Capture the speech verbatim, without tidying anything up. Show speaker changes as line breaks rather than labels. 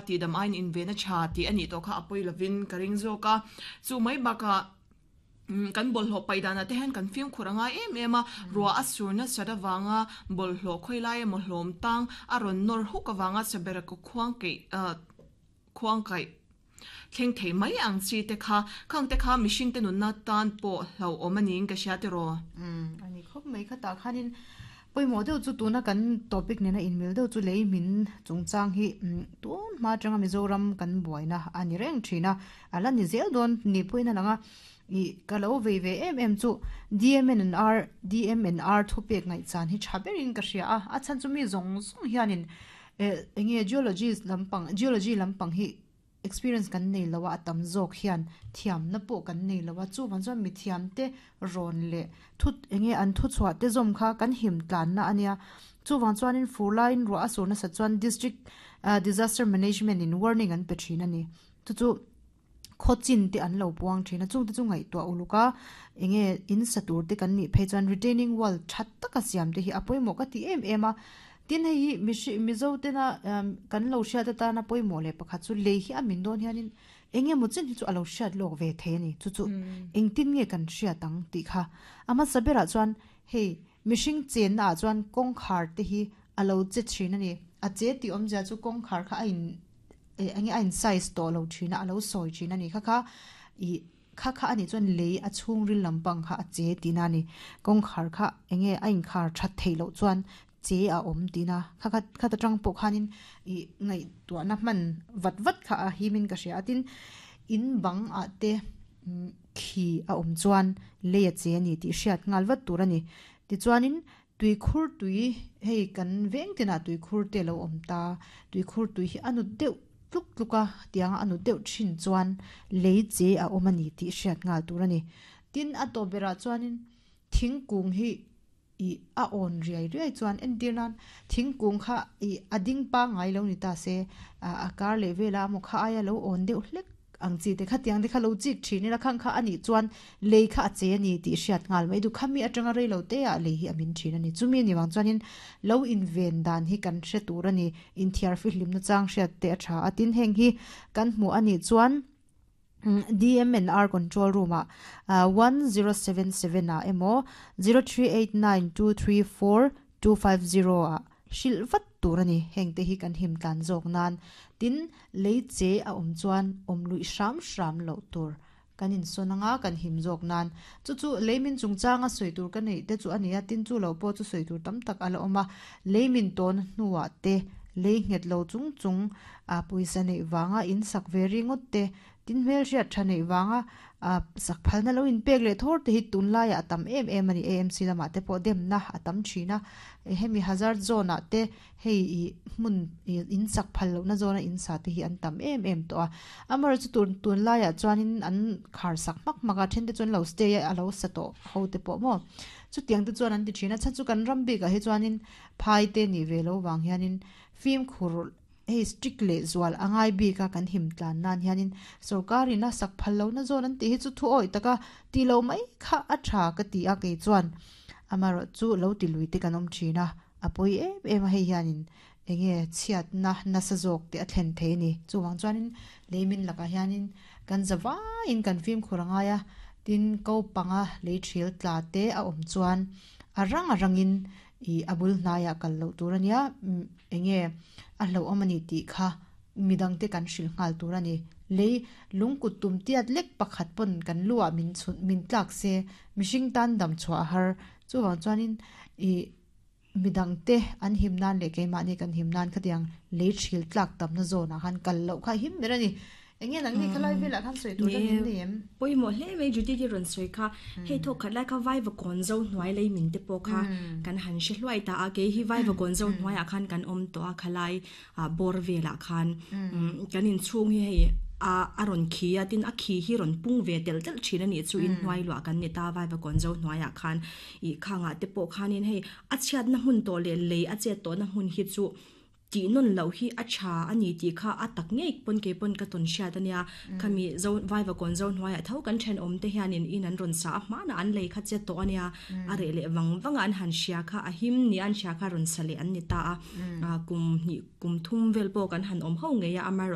Ti dam ain in ve na tha ti ani to kha apoi lovin ka ring zo ka. Chu mai baka kan bol ho paidana te hen kan film khuranga em em a. Ruwa asurna sadawanga bol hlo khoilai mo hlom tang aron nor huk awanga chabera ko khuang ke khuang kai thleng thei mai ang chi te kha. Khang te kha mishing te nun na tan po hlo omaning ka sha te ro.
Um ani khop mai kha ta khanin poimo deuh chu tuna kan topic nena in mil deuh chu lei min chungchang hi. Tun ma tanga Mizoram kan buaina ani reng thina ala ni zel don ni poina langa i kalo ve ve em em chu D M N R D M N R thupek ngai chan hi thaberin ka hria a. A chan chu mi zong zong hianin enge geology lampang geology lampang hi experience kan nei lawa atam zawk hian thiam na pawh kan nei lawa. Chu van chuan mi thiam te rawn leh thut enge an thu chhuah te zawm kha kan him tlan na ania. Chu wang chuanin fur laiin ruah a sur nasa chuan district disaster management in warning an pe thin ani. Chu chu khawchin te an lo puang thin a. Chung te chu ngaihtuah uluka enge in satur te kan nih phei chuan retaining wall that taka siam te hi a pawimawh ka ti em em a. Tin hei mishi Mizo tena kan lo hriat atana pawimawh leh pakhat chu lei hi a min dawn hianin enge maw chen hi chu alo hriat lawk ve thei ani. Chu chu engtin nge kan hriat ang tih kha ama saberah chuan hei mihring chen na ah chuan kawngkhar te hi alo che thin ani. A che tih awmzia chu kawngkhar kha a in enge a in size tawh lo thin a, alo sawi thin ani. Kha kha i kha kha ani chuan lei a chhung ril lampang kha a che tina ani. Kawngkhar kha enge a in khar that thei loh chuan che a awm tina. Kha kha khata tang pawh khanin i ngaih tuahna hman vat vat kha a himin ka hria. Tin in bang ah te khi a awm chuan lei a che ani tih hriat nghal vat tur ani. Tichuanin tui khur tui hei kan veng tinah tui khur te lo awm ta. Tui khur tui hi anu deuh tluk tluka tianga anu deuh thin chuan lei che a awm ani tih hriat nghal tur ani. Tin a tawp berah chuanin thingkung hi i a awn riai riai chuan entir nan thingkung kha i a ding pa ngai lo ni ta se, a kar leh vela maw kha aia lo awn deuh hlek ang chi te kha tiang te kha lo chik thin ila khang kha ani chuan lei kha a che ani tih hriat nghal mai du. Khami atanga rei lo te ah lei hi a min thin ani. Chumi ani wang chuanin lo in ven dan hi kan hre tur ani. In thiar fi hlim na chang hriat te a tha a. Tin heng hi kan hmu ani chuan D M N R control room a one zero seven seven a emaw zero three eight nine two three four two five zero a hril vat tur ani. Heng te hi kan him tlan zawk nan. Tin lei che a awm chuan awm lui hram hram loh tur kan in sawn anga kan him zawk nan. Chu chu leimin chungchanga sawi tur ka neih te chu ani a. Tin chu lo pawh chu sawi tur tam tak ala awm a. Leimin tawn hnuah te lei nghet lo chung chung a pawisa neih wanga in sak ve ringawt te, tin hmel hriat tha neih wanga a sak phalna lo in pek leh thawr te hi tunlaiah a tam em em ani. A M C lamah te pawh demna a tam thin a. Hemi hazard zone ah te hei i hmun in sak phal lohna zone a in sa te hi an tam em em tawh a. Amar chu tun tunlaiah chuanin an khar sak hmak hmak a. Then te chuan lo stay a lo sa tawh ho te pawh maw chutiang te chuan an ti thin a. Chan chu kan ram bikah hi chuanin phai te ni ve lo wang hianin fim khur hei strict leh zual angai bika kan him tlan nan hianin sarkarin a sak phal lohna zone an tih hi chu thu awi taka ti lo mai kha a tha ka ti a kei chuan. Amarawh chu lo ti lui te kan awm thin a, a pawi em em a. Hei hianin enge chhiat na nasa zawk te a thlen thei ani. Chuwang chuanin leimin lakah hianin kan zawaiin kan fim khur angai a. Tin ko panga lei thil tla te a awm chuan a rang a rangin i abul hnaiah kal loh tur ania. Enge a hlo awm ani tih kha midang te kan hril nghal tur ani. Lei lungkut tum tiat lek pakhat pawn kan luah min chhun min tlak se mihring tan dam chhuah har. Chuwang chuanin i midang te an him nan leh keimahni kan him nan khatiang lei thil tlak tamna zone ah khan kal loh kha him ber ani. Enge nang ni khalai velah khan sawi tur dang in nei em?
Poimo hle mai Judy ti ron soi kha. Hei tho khat lai kha vai va kon zo hnuai lei min te pawh kha kan han hre hluai ta a. Ke hi vai va kon zo hnuai ah khan kan awm to a khalai a bor velah khan kan in chhung hi hei a a ron khi a. Tin a khi hi ron pung ve tel tel thin ani chu in hnuai lua kan ni ta vai va kon zo hnuai ah khan i khanga te pawh khanin hei a chhiat na hmun to le lei a che to na hmun hi chu ti non lo hi a tha ani ti kha a tak ngei pon ke pon ka ton hriat ania. Khami zo vai va kon zo hnuai a tho kan then om te hian in in an ron sa a hma na an lei kha che to ania. A re le wang wang an han sia kha a him ni an sia kha ron sale an ni ta a. Kum ni kum thum vel po kan han om ho nge ya amar.